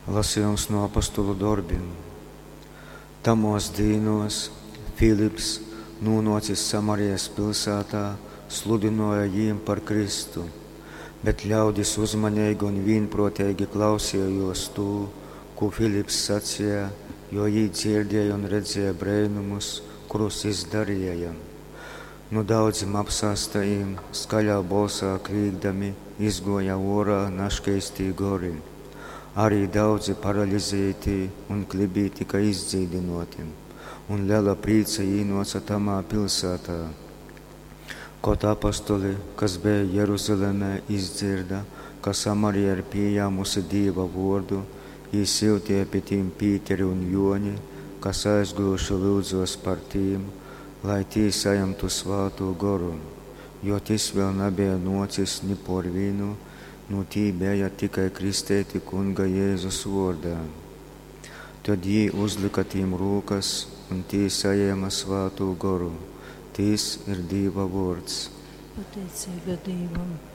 Lasejums nu apostolu dorbim. Tamōs dīnōs Filips, nūnōcis Samarijas pilsātā, sludynōja jīm par Kristu. Bet ļaudis uzmaneigi un vīnprōteigi klausejōs tū, kū Filips saceja, jo jī dzierdēja un redzēja breinumus, kurus jys dareja. Nu daudzim apsāstajim, skaļā bolsā klīgdami, izgōja ōrā naškeistī gori. Ari daudzi paralizeitī un klybī tyka izdzīdynōti, un lela prīca īnōce tamā pilsātā. Kod apostoli, kas beja Jeruzalemē, izdzierda, ka Samarija ir pījāmuse Dīva vōrdu, jī syuteja pi tim Pīteri un Jōni, kas aizgōjuši lyudzōs par tim, lai tī sajimtu Svātū Goru, jo tys vēl nabeja nōcis ni pōr vīnu, nu tī beja tikai kristeiti Kunga Jezus vōrdā. Tod jī uzlyka tim rūkas, un tī sajēma Svātū Goru. Tys ir Dīva vōrds. Pateiceiba Dīvam.